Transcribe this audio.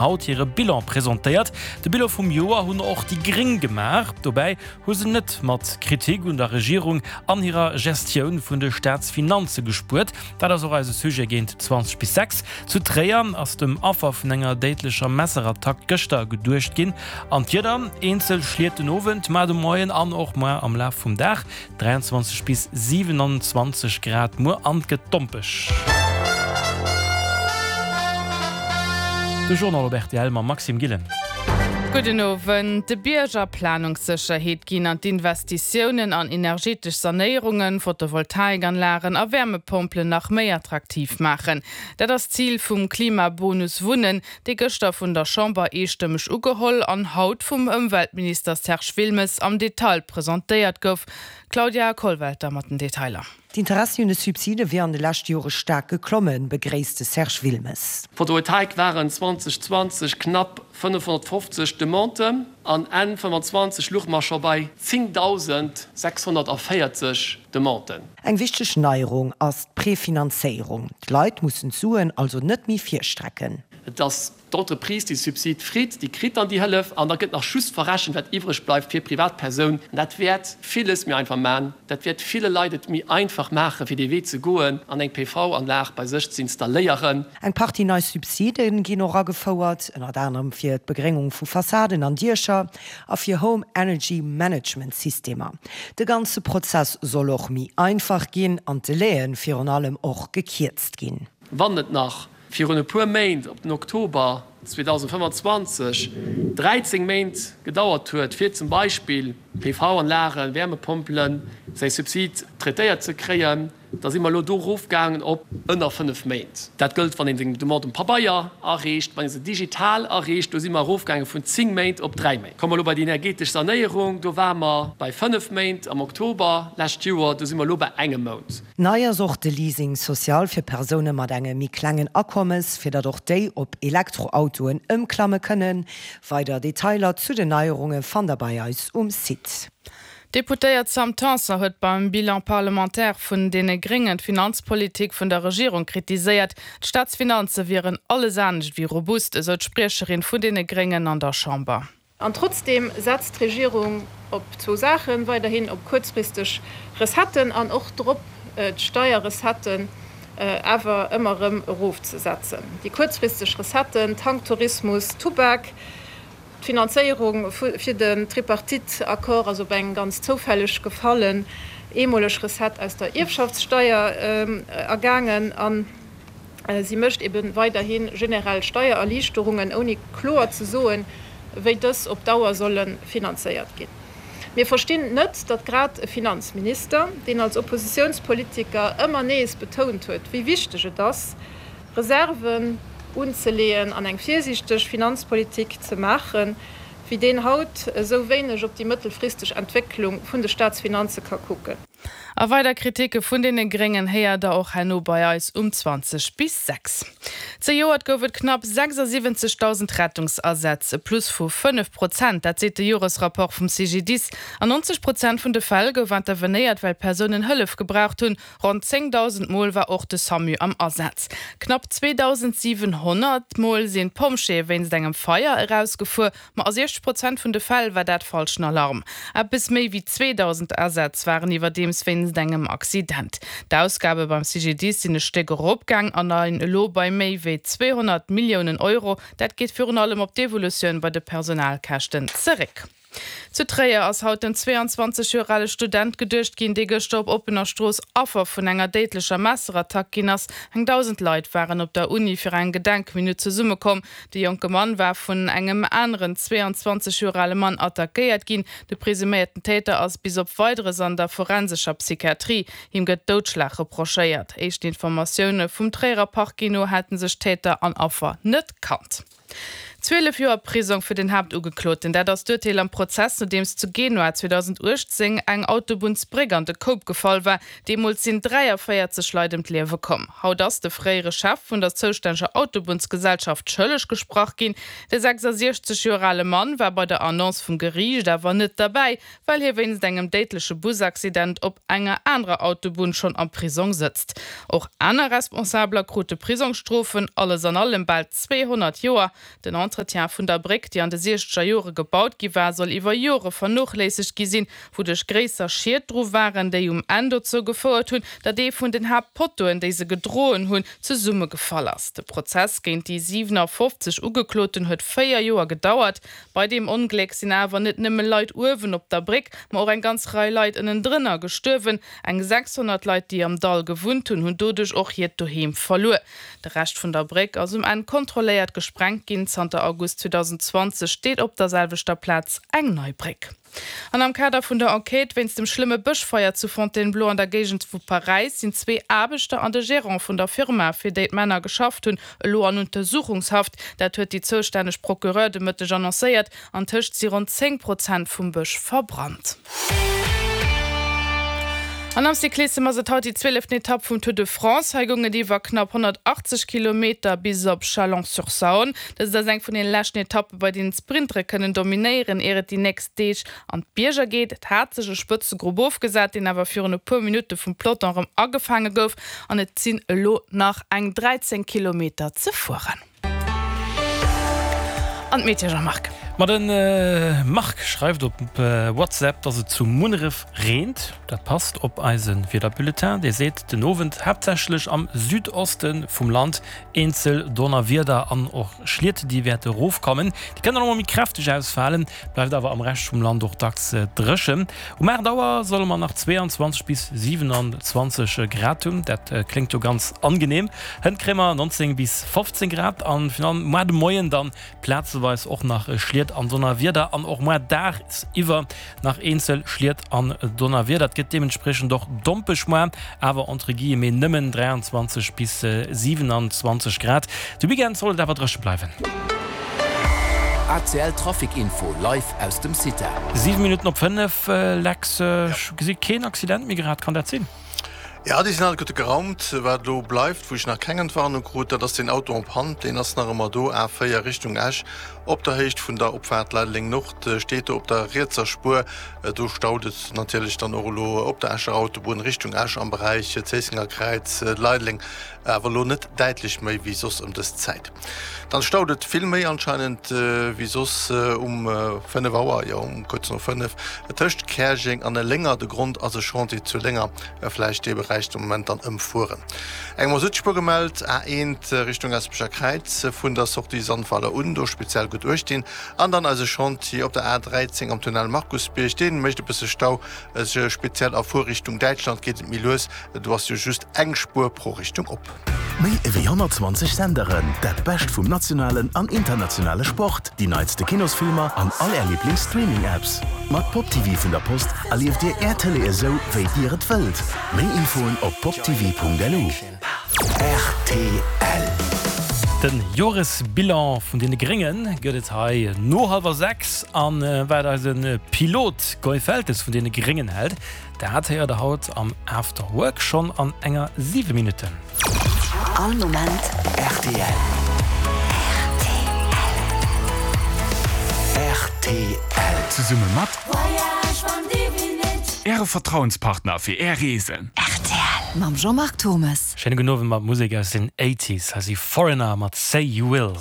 Haut hire Bilan presentéiert. De Bilan vum Joer hunn och déi Gréng gemaach. Dobäi hu se net mat Kritik un der Regierung an hirer Gestioun vun de Staatsfinanze gespuert. Dat ass och eise Sujet géint 20 bis 6. Zu Tréier ass dem Affer vun enger déidlecher Messerattack gëschter geduecht ginn. An d'Wieder, Eenzel Schliet den Owend, mar de Moien an och muer am Laf vum Dag. 23 bis 27 Grad muer an et gëtt dompeg. De Journal op rtl mam Maxime Gillen. Gudden Owend. De Bierger Planungssécherheet ginn an d'Investitiounen an energetesch Sanéierungen, Photovoltaikanlagen a Wärmepompelen nach méi attraktiv maachen. Dat ass d'Zil vum Klimabonus Wunnen, dee gëschter vun der Chamber eestëmmeg ugeholl an haut vum Ëmweltminister Serge Wilmes am Detail presentéiert gouf. Claudia Kollwelter mat den Detailer. D'Interessi un de Subside wier an de leschte Jore staark geklommen, begréisst de Serge Wilmes. Photovoltaik waren 2020 knapp 550 Demanden an Enn 25 luche mer scho bei 10.640 Demanden. Eng wichteg Neierung ass d'Prefinanzéierung. D'Leit mussen d'Suen also net méi virstrecken. Et ass d'Entreprise, déi de Subsid freet, déi kritt dann déi Hëllef an da gëtt nach just verrechent, wat iwwreg bleift fir d'Privatpersoun. An dat wäert villes méi einfach maachen. Dat wäert ville Leit et méi einfach maachen, fir dee Wee ze goen an eng PV-Anlag bei sech ze installéieren. Eng Partie nei Subside ginn och agefouert, ënnert anerem fir d'Begréngung vu Fassaden an Diecher a fir Home Energy Management Systemer. De ganze Prozess soll och méi einfach ginn an d'Delaie virun allem och gekierzt ginn. Wann et nach virun e puer Méint, op den Oktober 2025, 13 Méint gedauert huet, fir zum Beispill PV-Anlagen, Wärmepompelen, säi Subsid traitéiert ze kréien, Da si mer elo do erofgaangen op ënner 5 Méint. Dat gëllt, wann een seng Demande um Pabeier areecht. Wann ee se digital areecht, do si mer erofgaange vun 10 Méint op 3 Méint. Komme mer elo bei déi energetesch Sanéierung, do ware mer bei 5 Méint am Oktober lescht Joer, do si mer elo bei engem Mount. Nei ass och de Leasing social fir Persoune mat engem méi klengen Akommes, fir datt och déi op Elektroautoen ëmklamme kënnen. Weider Detailer zu den Neierunge fannt der bei eis um Site. D'Deputéiert Sam Tanson huet beim Bilan parlementaire vun deene Gréngen d'Finanzpolitik vun der Regierung kritiséiert. D'Staatsfinanze wieren alles anescht wéi robust, esou d'Spriecherin vun deene Gréngen an der Chamber. An trotzdeem setzt d'Regierung op zwou Saachen, weiderhin op kuerzfristeg Recetten an och drop, d'Steierrecetten awer ëmmer erëm erofzesetzen. Déi kuerzfristeg Recetten, Tanktourismus, Tubak, D'Finanzéierung fir den Tripartite-Accord ass op eng ganz zoufälleg gefallen eemoleg Recette aus der Ierfschaftssteier ergaangen a si mécht ebe weiderhi generell Steiererliichterungen, ouni kloer ze soen, wéi dës op Dauer solle finanzéiert ginn. Mir verstinn net, datt grad e Finanzminister, deen als Oppositiounspolitiker ëmmer nees betount huet, wéi wichteg et ass, Reserven unzeleeën an eng virsiichteg Finanzpolitik ze maachen, wéi deen haut esou wéineg op déi mëttelfristeg Entwécklung vun de Staatsfinanze ka kucken. A weider Kritike vun deene Gréngen héiert der och herno bei eis um 20 bis 6. Zejoert gouf et knapp 76.000 Rettungsasätz, e Plus vu 5 Prozent, dat seet de Joresrapport vum CGDIS. An 90 Prozent vun de Fäll gouf intervenéiert, well Persounen Hëllef gebraucht hunn. Ronn 10.000 Mol war och de Samu am Asaz. Knapp 2.700 Mol sinn d'Pompjeeë wéinst engem Feier erausgefuer, ma a 60 Prozent vun de Fäll war dat falschen Alarm. Eppes méi wéi 2.000 Asätz waren iwwerdeems wéinst engem Accident. D'Ausgabe beim CGDIS sinn e Stéck eropgaang a leien elo bei méi wéi 200 Milliounen Euro. Dat geet virun allem op d'Evolutioun bei de Personalkäschten zeréck. Zu Tréier ass haut dem 22 Joer ale Student geduecht ginn, dee gëschter op oppener Strooss Affer vun enger déidlecher Messerattack ginn ass. Eng 1.000 Leit waren op der Uni fir eng Gedenkminutt zesummekomm. De jonke Mann war vun engem aneren 22 Joer ale Mann attackéiert ginn. De presuméierten Täter ass bis op Weideres an der forensescher Psychiatrie. Him gëtt Doudschlag reprochéiert. Éischten Informatioune vum Tréierer Parquet no hätte sech Täter an Affer net kannt. 12 Joer Prisong fir den Haaptugekloten, dat ass d'Urteel am Prozess, nodeems zu Genua 2018 eng Autobunnsbréck an de Koup gefall war. Deemools sinn 43 Leit ëm d'Liewe komm. Haut ass de fréiere Chef vun der zoustänneger Autobunnsgesellschaft schëlleg gesprach ginn. De 66 Joer ale Mann war bei der Annonce vum Geriicht awer net derbäi, well hie wéinst engem déidleche Busaccident op enger anerer Autobunn schonn am Prisong sëtzt. Och aner Responsabeler krute Prisongsstrofen, alles an allem bal 200 Joer. Den. Entretien vun der Bréck, déi an de siechzeger Jore gebaut gi war, soll iwwer Jore vernochléissegt gi sinn, wouduerch gréisser Schied dru waren, déi um Enn dozou gefouert hunn, datt ee vun den Haaptpottoen, déi se gedroen hunn, zesummegefall ass. De Prozess géint déi 57 Ugekloten huet 4 Joer gedauert. Bei deem Ongléck sinn awer net nëmme Leit uewen op der Bréck, ma och eng ganz Rei Leit ënnendrënner gestuerwen. Eng 600 Leit, déi am Dall gewunnt hunn, hunn doduerch och hiert Doheem verluer. De Rescht vun der Bréck ass um Enn kontrolléiert gesprengt ginn. Zanter August 2020 steet op der selwechter Plaz eng nei Bréck. An am Kader vun der Enquête wéinst dem schlëmme Bëschfeier zu Fontainebleau an der Géigend vu Paräis sinn zwee Aarbechter an de Gerant vun der Firma, fir déi d'Männer geschafft hunn, elo an Untersuchungshaft. Dat huet déi zoustänneg Procureur de Mëtteg annoncéiert. Antëscht si ronn 10 Prozent vum Bësch verbrannt. An am Cyclissem ass et haut déi zwieleften Etapp vum Tour de France. Hei goung et iwwer knapp 180 Kilometer bis op Chalon-sur-Saône. Dëst ass eng vun den leschten Etappe bei deenen d'Sprintere kënnen dominéieren, ier et déi nächst Deeg an d'Bierger geet. Et hat sech e Spëtzegrupp ofgesat, deen awer virun e puer Minutte vum Peloton erëm agefaange gouf an et sinn elo nach eng 13 Kilometer ze fueren. An d'Meteo, Jean-Marc. Ma de Marc schreift op WhatsApp, dass et zu Munneref reent. Dat passt op eise Wiederbulletin. Dee seet, den Owend haaptsächlech am Südoste vum Land eenzel Donnerwieder an och Schliet, déi wäerte rofkommen. Déi kënnen och mol méi kräfteg ausfalen, bleift awer am Rescht vum Land och dacks dréchen. Um 8 Auer solle mer nach 22 bis 27 Grad hunn, dat kléngt jo ganz angenehm. Hënt kréie mer 19 bis 15 Grad an virun allem moar de Moien dann plazeweis och nach Schliet an Donnerwieder an och moar dagsiwwer nach eenzel Schliet an Donnerwieder. Et gëtt deementspriechend och dompeg moar, awer entre guillemets nëmmen 23 bis 27 Grad. De Weekend soll et awer dréche bleiwen. ACL Trafic Info live aus dem CITA. 7 Minutten op 5, Lex, ech gesi keen Accident méi grad, kann dat sinn? Jo, déi sinn alleguerte geraumt. Wat elo bleift, wou ech nach keng Entwarnung krut, dat ass deen Auto en panne. Deen ass nach ëmmer do, A4 Richtung Esch, op der Héicht vun der Opfaart Leideleng Nord, steet do op der rietser Spuer. Do staut et natierlech dann och elo op der Escher Autobunn Richtung Esch am Beräich Zéissenger Kräiz, Leideleng, awer elo net däitlech méi wéi soss ëm dës Zäit. Dann staut et vill méi anscheinend wéi soss um 5 Auer, jo um kuerz no 5, tëscht Käerjeng an Lénger. De Grond ass e Chantier zu Lénger, vläicht dee Beräich de Moment dann ëmfueren. Eng Masutspuer gemellt, A1 Richtung Gaspecher Kräiz vun der Sortie Sandweiler un, do speziell gutt uecht dinn. An dann eise Chantier op der A13 am Tunnel Markusbierg, dee mécht e bësse Stau, speziell a Fuerrichtung Däitschland geet et méi lues, do ass jo just eng Spuer pro Richtung op. Méi ewéi 120 Senderen, dat Bescht vum nationalen an internationale Sport, déi neitste Kinosfilmer an all Är Liiblings-Streaming-Apps. Mat Pop TV vun der Post erlieft Dir Är Tëlee esou, wéi Dir et wëllt. Méi Infoen op poptv.lu. Rtl. Den Joresbilan vun deene Grénge gëtt et hei no hallwer 6. An wat eise Pilot Guy Feltes vun deene Gréngen hält, Dat héiert der haut am After Work schonn an enger 7 Minutten. All Moment rtl. Rtl. Zesumme mat Äre Vertrauenspartner fir Är Reesen. Rtl mam Jean-Marc Thommes. Schéine gudden Owend mat Musek aus den Eighties. Hei si Foreigner mat Say You Will.